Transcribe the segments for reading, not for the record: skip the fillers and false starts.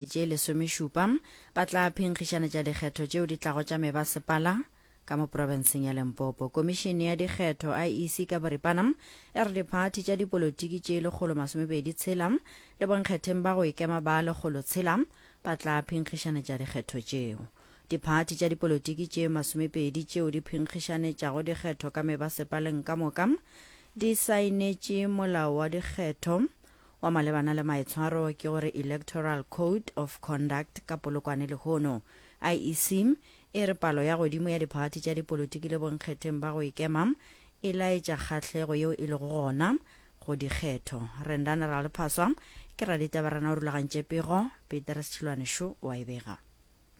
Tše lesomešupa ba tla phenkgišanetša dikgetho tšeo di tlago tša mebasepala ka mo profenseng ya Limpopo. Komišene ya dikgetho, IEC ka boripana, e re diphathi tša dipolotiki tše 126 le bonkgetheng ba go ikema ba 106 ba tla phenkgišanetša dikgetho tšeo. Diphathi tša dipolotiki tše 20 tšeo di phenkgišanetšago dikgetho ka mebasepaleng ka moka di saenetše molao wa dikgetho wa malebana le maitshwaro ke gore Electoral Code of Conduct ka Polokwane lehono. IEC e re palo ya godimo ya diphathi tša dipolotiki le bonkgetheng ba go ikema e laetša kgahlego yeo e lego gona go dikgetho. Rendani Ralephaswa ke raditabarena o rulagantše pego, Petrus Tšhilwane šo o a e bega.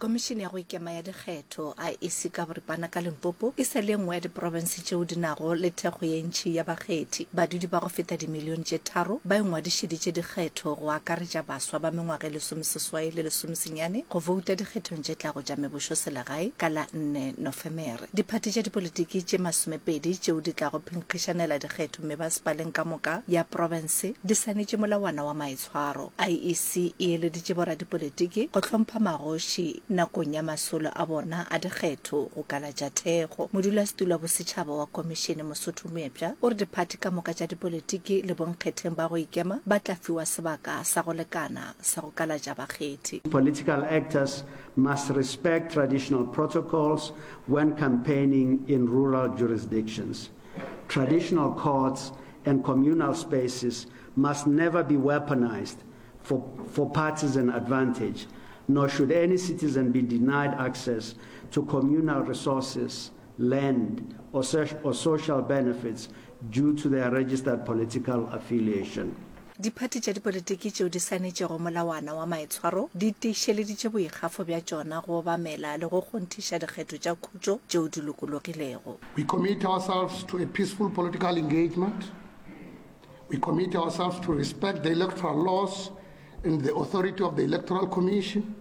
Komišene ya go Ikema ya Dikgetho, IEC, ka boripana ka Limpopo e sa le ye nngwe ya diprofense tšeo di nago le thekgo ye ntši ya bakgethi. Badudi ba go feta dimilione tše tharo ba ingwadišeditše dikgetho, go akaretša baswa ba mengwaga e lesomeseswai le lesomesenyane, go bouta dikgethong tše tlago tša mebošoselegae ka la nne Nofemere. Diphathi tša dipolitiki tše masomepedi tšeo di tlago phenkgišanela dikgetho mebasepaleng ka moka ya profense di saenetše molawana wa maitshwaro. IEC e eleditše boradipolitiki go hlompha magoši nakong ya masolo a bona a dikgetho go kalatša thekgo. Modulasetulo wa bosetšhaba wa komišene Mosotho Moepša o re diphathi ka moka tša dipolitiki le bonkgetheng ba go ikema ba tla fiwa sebaka sa go lekana sa go kalatša bakgethi. Political actors must respect traditional protocols when campaigning in rural jurisdictions. Traditional courts and communal spaces must never be weaponized for, for partisan advantage, nor should any citizen be denied access to communal resources, land, or, or social benefits due to their registered political affiliation. Diphathi tša dipolitiki tšeo di saenetšego molawana wa maitshwaro di tiišeleditše boikgafo bja tšona go obamela le go kgonthiša dikgetho tša khutšo tšeo di lokologilego. We commit ourselves to a peaceful political engagement. We commit ourselves to respect the electoral laws and the authority of the Electoral Commission.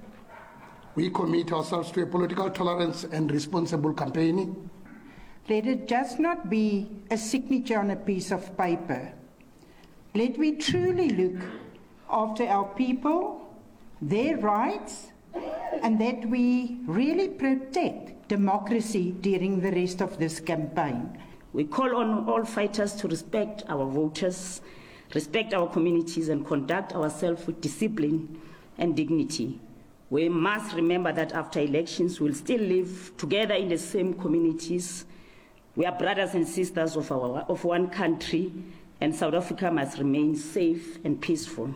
We commit ourselves to a political tolerance and responsible campaigning. Let it just not be a signature on a piece of paper. Let we truly look after our people, their rights, and that we really protect democracy during the rest of this campaign. We call on all fighters to respect our voters, respect our communities, and conduct ourselves with discipline and dignity. We must remember that after elections, we'll still live together in the same communities. We are brothers and sisters of, our, of one country, and South Africa must remain safe and peaceful.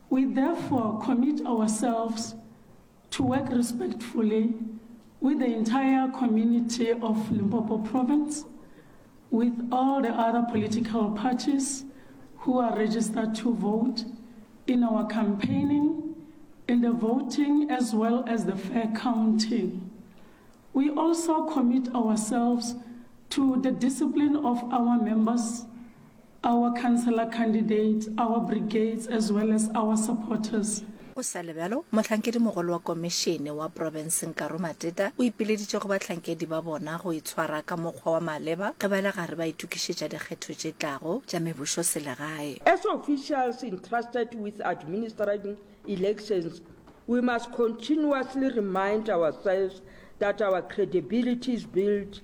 We therefore commit ourselves to work respectfully with the entire community of Limpopo province, with all the other political parties who are registered to vote in our campaigning, in the voting, as well as the fair counting. We also commit ourselves to the discipline of our members, our councillor candidates, our brigades, as well as our supporters. Go sa le bjalo, mohlankedimogolo wa komišene wa profense Nkaro Mateta o ipileditše go bahlankedi ba bona go itshwara ka mokgwa wa maleba ge ba le gare ba itokišetša dikgetho tše tlago tša mebušoselegae. As officials entrusted with administering elections, we must continuously remind ourselves that our credibility is built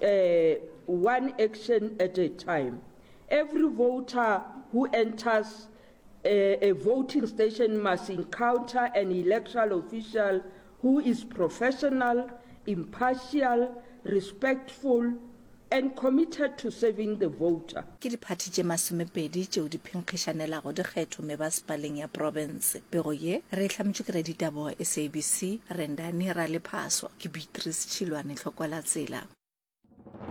uh, one action at a time. Every voter who enters a, a voting station must encounter an electoral official who is professional, impartial, respectful, and committed to serving the voter. Ke diphathi tše masomepedi tšeo di phenkgišanelago dikgetho mebasepaleng ya profense. Pego ye re e hlametšwe ke raditaba wa SABC, Rendani Ralephaswa. Ke Beatrice Tšhilwane Tlhokwalatsela.